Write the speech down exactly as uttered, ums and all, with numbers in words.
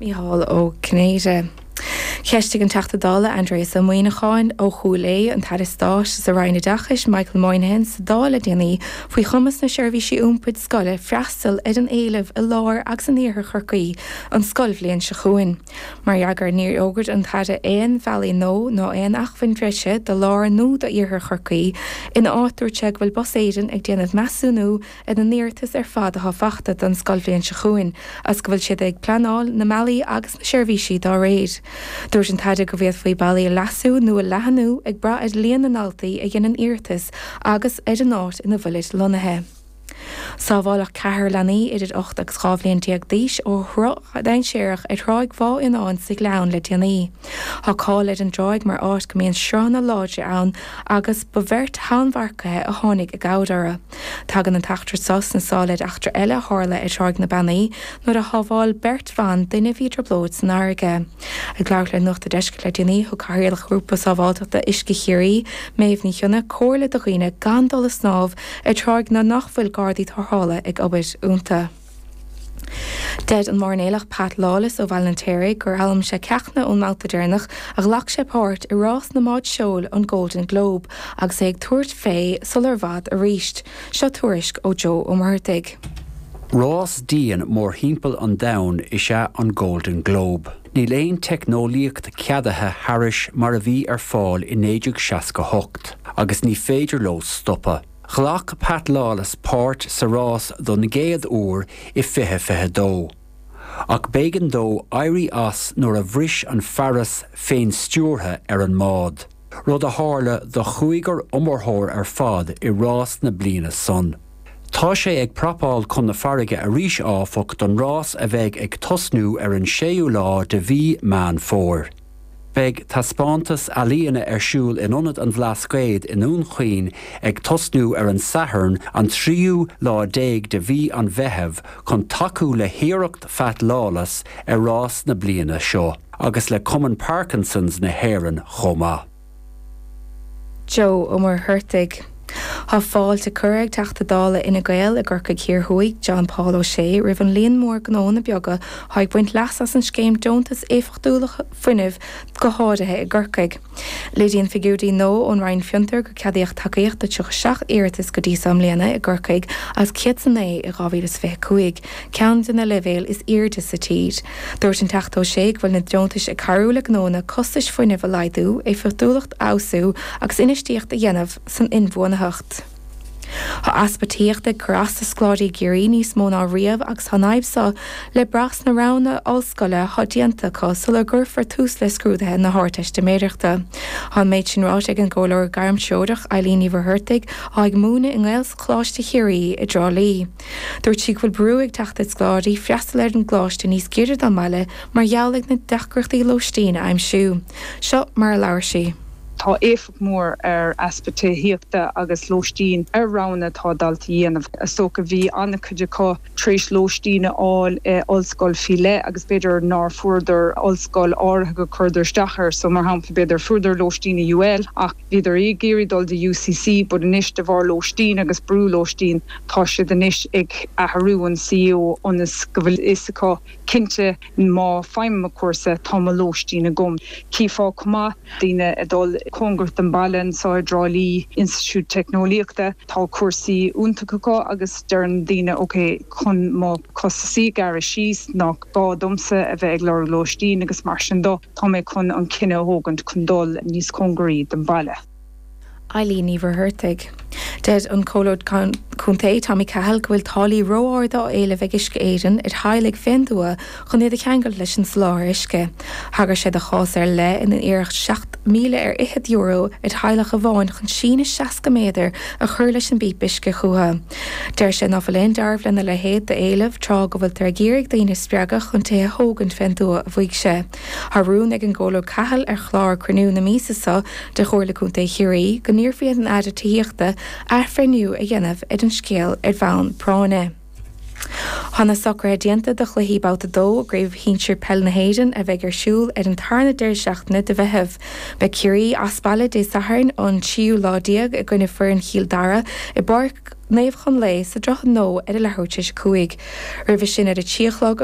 Mícheál Ó Cinnéide. Cheistigh an Teachta Dála Aindrias Ó Muimhneacháin ó Chúil Aodha an tAire Stáit sa Roinn Oideachais Michael Moynihan sa Dáil le déanaí faoi chumas na seirbhísí iompair scoile freastal ar an éileamh i lár agus in iarthar Chorcaí an scoilbhliain seo chugainn. Mar fhreagra níor fhógair an tAire aon bhealaí nua ná aon acmhainn bhreise do lár nó d'iarthar Chorcaí ina áit dúirt sé go bhfuil Bus Éireann ag déanamh measúnú ar na hiarratais ar fad atá faighte don scoilbhliain seo chugainn, agus go bhfuil siad ag pleanáil na mbealaí agus na seirbhísí dá réir. Dúirt an tAire go bhféadfaí bealaí a leasú nó a leathnú ag brath ar líon na ndaltaí a dhéanann iarratas agus ar an áit ina bhfuilid lonnaithe. Sábháladh ceathrar leanaí idir ocht agus dhá bhliain déag d'aois ó shruth dainséarach ar Thráigh Bhá Fhionáin sa Ghleann le déanaí. Tá cáil ar an dtráigh mar áit go mbíonn sruthanna láidre ann agus ba bheirt tonnmharcaithe a tháinig i gcabhair orthu. Tagann an t-eachtra seo sna sála ar eachtra eile a tharla ar Thráigh na Beannaí nuair a shábháil beirt bhan duine a bhí i dtrioblóid san fharraige. Ag labhairt le Nuacht an Deiscirt le déanaí thug Cathaoirleach Ghrúpa Sábháilteachta Uisce Chiarraí, Méabh Ní Chionnaith comhairle do dhaoine gan dul ag snámh ar tráigh nach bhfuil gardaí tarrthála ag obair iontu. Deir an mairnéalach Pat Lawless ó Bhaile an Fheirtéaraigh gur fhoghlaim sé ceachtanna ón mbabhta deireanach a ghlac sé páirt i rás na mbád seoil an Golden Globe agus é ag tabhairt fé sular i bhfad arís. Seo tuairisc ó Joe Ó Muirthigh. Rás dian mórthimpeall an domhain is ea an Golden Globe. Níl aon teicneolaíocht ceadaithe thairis mar a bhí ar fáil i naoi déag seasca hocht, agus ní féidir leo stopadh. Ghlac Pat Lawless páirt sa rás don gcéad uair i fiche fiche dó. Ach b'éigean dó éirí as nuair a bhris an fearas féinstiúrtha ar an mbád. Rud a tharla do chúigear iomaitheoir ar fad i rás na bliana san. Tá sé ag prapáil chun na farraige arís áfach don rás a bheidh ag tosnú ar an séú lá de mhí Meán Fómhair. Beidh taispeántas ealaíona ar siúl in Ionad an Bhlascaoid i nDún Chaoin ag tosnú ar an Satharn an tríú lá déag de mhí an Mheithimh chun tacú le hiarracht Phat Lawless ar rás na bliana seo, agus le Cumann Parkinson's na hÉireann chomh maith. Joe Ó Muircheartaigh. Tá fáilte curtha ag Teachta Dála Fhine Gael i gCorcaigh Thiar Thuaidh, John Paul O'Shea, roimh an líon mór gnónna beaga atá ag baint leas as an scéim deontas éifeachtúlachta fuinnimh go háirithe i gCorcaigh. Léiríonn figiúirí nua ón Roinn Fiontar gur ceadaíodh tacaíocht do tríocha seacht iarratas go dtí seo i mbliana i gCorcaigh as céad is a naoi i dhá mhíle is fiche cúig, ceann de na leibhéil is airde sa tír. Dúirt an Teachta O'Shea go bhfuil na deontais ag cabhrú le gnónna costais fuinnimh a laghdú, éifeachtúlacht a fheabhsú agus infheistíocht a dhéanamh san inbhuanaitheacht. Tá easpa tithíochta ag cur as do scoláirí i gCiarraí níos mó ná riamh agus tá an fhadhb seo le brath sna roghanna ollscoile atá déanta acu sular gcuirfear tús le scrúduithe na hArdteistiméireachta. Tá an méid sin ráite ag an gcomhairleoir gairmthreorach Eileen Ní Mhuircheartaigh atá ag múineadh i nGaelcholáiste Chiarraí i dTrá Lí. Dúirt sí go bhfuil brú ag teacht ar scoláirí freastal ar an gcoláiste níos giorra dá mbaile mar gheall ar na deacrachtaí lóistín a aimsiú. Seo mar a labhair sí. Tá éifeacht mór ar easpa tithíochta agus lóistín ar roghanna atá daltaí a dhéanamh. Is dócha bhí an-chuid acu tar éis lóistín a fháil i ollscoil faoi leith agus b'fhéidir nár fuaireadar ollscoil áirithe go chuireadar isteach air, so mar shampla b'fhéidir fuaireadar lóistín i UL ach bhíodar ag iarraidh dul do UCC, but anois de bharr lóistín agus brú lóistín tá siad anois ag athrú an CO ionas go bhfuil fhios acu cinnte má fhaighim mo chúrsa tá mo lóistín agam. Chífeá chomh maith daoine ag dul cóngarach don baile anseo i dTrá Lí Institiúid Teicneolaíochta tá cúrsaí iontacha acu agus deireann daoine ok chun mo chostasaí a ghearradh síos nach gá domsa a bheith ag lorg lóistín agus mar sin dó tá mé chun an cinneadh a thógaint chun dul níos cóngaraí don baile. Eileen Ní Mhuircheartaigh. Deir an Comhairleoir Contae Tommy Cahill go bhfuil táillí ró-arda á éileamh ag Uisce Éireann ar theaghlaigh fén dtuath chun iad a cheangal leis an soláthar uisce. Thagair sé do chás ar leith ina iarradh seacht míle ar fhichead euro ar theaghlach amháin chun síneadh seasca méadar a chur leis an bpíopa uisce chucu. Deir sé ná fuil aon dealramh lena leithéid d'éileamh tráth go bhfuiltear ag iarraidh daoine a spreagadh chun tithe a thógaint fén dtuath a mhaígh sé. Tá rún ag an gComhairleoir Cahill ar chlár cruinniú na míosa seo de Chomhairle Contae Chiarraí go n-iarrfaí ar an Aire Tithíochta athbhreithniú a dhéanamh ar an scéal ar bhonn práinne. Tá na socruithe déanta do chluichí babhta dó i gCraobh Shinsir Peil na hÉireann a bheidh ar siúl ar an tarna deireadh seachtaine de Mheitheamh. Beidh Ciarraí as baile Dé Sathairn an tríú lá déag i gcoinne foireann Chill Dara i bPáirc Naomh Chonlae sa Droichead Nua ar a leathuair tar éis a cúig. Roimhe sin ar a trí a chlog